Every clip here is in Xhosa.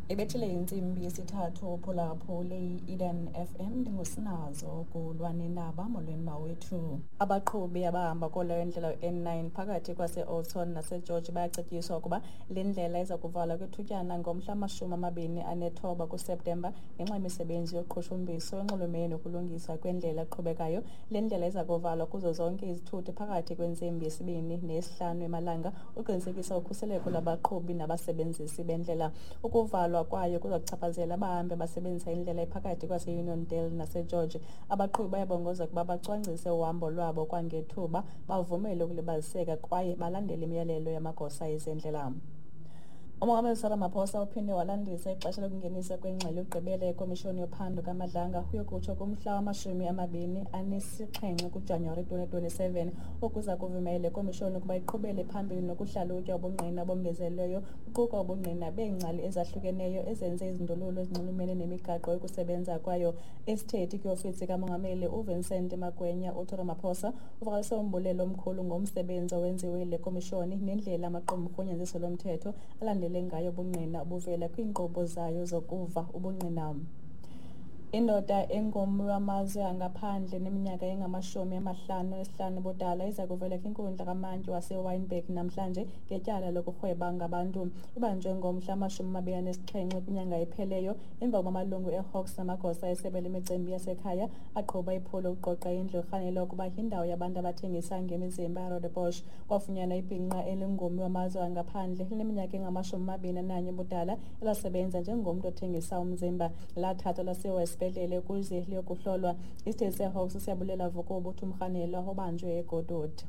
Ibethile intsimbi yesithathu. Uphulaphule i-Eden FM, ndingusinazo kulwanendaba. Molweni mawethu. Abaqhubi abahamba kuleyo ndlela N9 phakathi kwase-Oudtshoorn naseGeorge bayacetyiswa ukuba le ndlela iza kuvalwa kwithutyana ngomhla 29 kuSeptemba ngenxa yemisebenzi yoqhushumbiso enxulumene nokulungiswa kwendlela eqhubekayo. Le ndlela iza kuvalwa kuzo zonke izithuthi phakathi kwentsimbi yesibini neyesihlanu emalanga uqinisekisa ukhuseleko lwabaqhubi nabasebenzisi bendlela. Ukuvalwa kwayo kuza kuchaphazela abahambi abasebenzisa indlela ephakathi kwase-Uniondale naseGeorge. Abaqhubi bayabongozwa ukuba bacwangcise uhambo lwabo kwangethuba, bavumele ukulibaziseka kwaye balandele imiyalelo yamagosa ezendlela. Umongameli Cyril Ramaphosa uphinde walandisa ixesha lokungeniswa kwengxelo yokugqibela yekomishoni yophando kaMadlanga uyokutsho kumhla wama-27 kuJanuwari 2027, okuza kuvumela le komishoni ukuba iqhubele phambili nokuhlalutya ubungqina obongezelelweyo, kuquka ubungqina beengcali ezahlukeneyo ezenze izindululo ezinxulumene nemigaqo yokusebenza kwayo. Isithethi kwiofisi kamongameli uVincent Magwenya uthi Ramaphosa uvakalise umbulelo omkhulu ngomsebenzi owenziwe yile komishoni nendlela amaqumrhu onyanzeliso lomthetho alandele ngayo ubungqina obuvela kwiinkqubo zayo zokuva ubungqina. Indoda engummi wamazwe angaphandle neminyaka engama-55 ubudala iza kuvela kwinkundla kamantyi waseWynberg namhlanje ngetyala lokurhweba ngabantu. Ibanjwe ngomhla 27 kwinyanga epheleyo emva kokuba amalungu eHawks namagosa esebe lemicimbi yasekhaya aqhuba iphulo ukuqoqa indlu erhanelwa ukuba yindawo yabantu abathengisa ngemizimba eRoodepoort. Kwafunyanwa ibhinqa elingummi wamazwe angaphandle lineminyaka engama-21 ubudala elasebenza njengomntu othengisa umzimba. Lathathwa lasiwa esibhedlele ukuze liyokuhlolwa. Isithethi seHawks uSiyabulela Vukubu uthi umrhanelwa ubanjwe eGoodwood.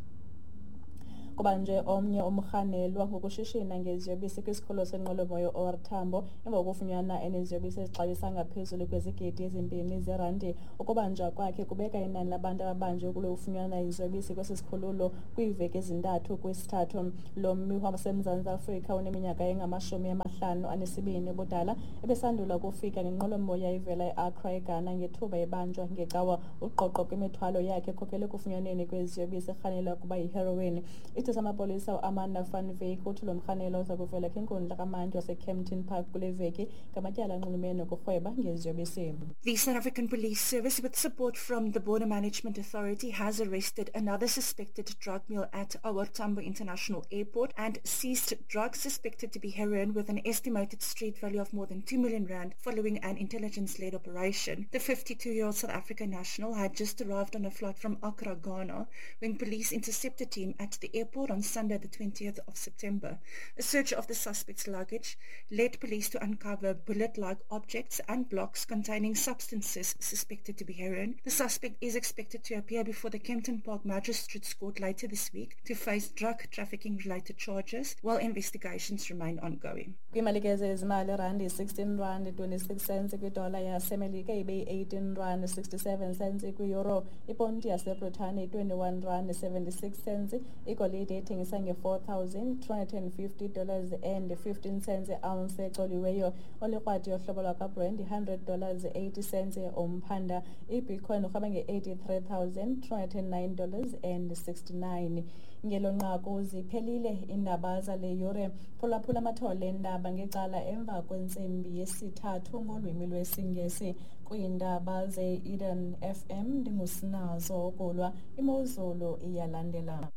Kubanjwe omnye umrhanelwa ngokushishina ngeziyobisi kwisikhululo senqwelomoya OR Tambo emva kokufunyanwa eneziyobisi ezixabisa ngaphezulu kwezigidi ezimbini zerandi. Ukubanjwa kwakhe kubeka inani labantu ababanjwe kulokufunyanwa iziyobisi kwesi sikhululo kwiiveki ezintathu kwisithathu. Lo mmi waseMzantsi Afrika uneminyaka engama-52 ubudala ebesandula ukufika ngenqwelomoya ivela eAccra eGhana ngethuba ebanjwa ngeCawa. Uqoqo kwimithwalo yakhe khokhele ekufunyanweni kweziyobisi erhanelwa ukuba yiheroin. Isithethi samapolisa uAmanda van Wyk uthi lo mrhanelwa uza kuvela kwinkundla kamantyi waseKempton Park kule veki ngamatyala anxulumene nokurhweba ngeziyobisi. The South African Police Service, with support from the Border Management Authority, has arrested another suspected drug mule at OR Tambo International Airport and seized drugs suspected to be heroin with an estimated street value of more than 2 million rand following an intelligence-led operation. The 52-year-old South African national had just arrived on a flight from Accra, Ghana, when police intercepted him at the airport on Sunday, the 20th of September. A search of the suspect's luggage led police to uncover bullet-like objects and blocks containing substances suspected to be heroin. The suspect is expected to appear before the Kempton Park Magistrates Court later this week to face drug trafficking-related charges while investigations remain ongoing. Kwiimalike zezimali, irandi 16 rand 26 cents kwidola yaseMelika, ibe yi-18 rand 67 cents kwiyuro. Iponti yaseBritane i-21 rand 76 cents. Igolide ithengisa nge-$4,250 and 15 cents i-ounce ecoliweyo. Olikrwadi yohlobo lwakwaBrand i-$100 80 cents umphanda. Ibitcoin urhweba nge-$83,209 and 69. Ngelo nqaku ziphelile iindaba zale yure. Phulaphula amathole eendaba ngecala emva kwentsimbi yesithathu ngolwimi lwesiNgesi. Kwiindaba ze-Eden FM ndingusinazo Okulwa. Imozulu iyalandela.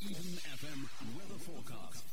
Eden FM weather forecast.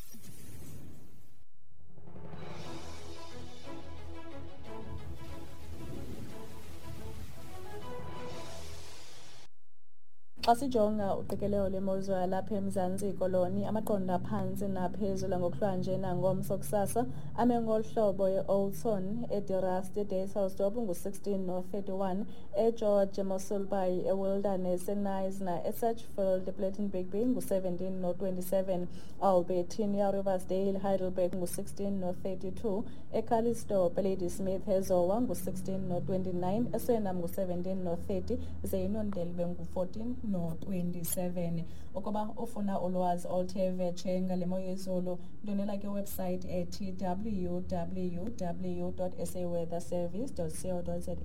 Xa sijonga uqikelelo lwemozulu yalapha eMzantsi Koloni, amaqondo aphantsi naphezulu ngokuhlwanje nangomso kusasa ame ngolu hlobo: e-Oudtshoorn, eDe Rust, eDysselsdorp ngu-16 no-31, eGeorge, eMossel Bay, eWilderness, eKnysna, eSedgefield, ePlettenberg Bay ngu-17 no-27, Albertinia, Riversdale, Heidelberg ngu-16 no-32, eCalitzdorp, eLadysmith, eZowa ngu-16 no-29, eSuriname ngu-17 no-30, ze iNondele bengu-14 no-27. Ukuba ufuna ulwazi oluthe vetshe ngale mo yezulu, ndwendwela kwiwebsite ethi www.saweatherservice.co.za.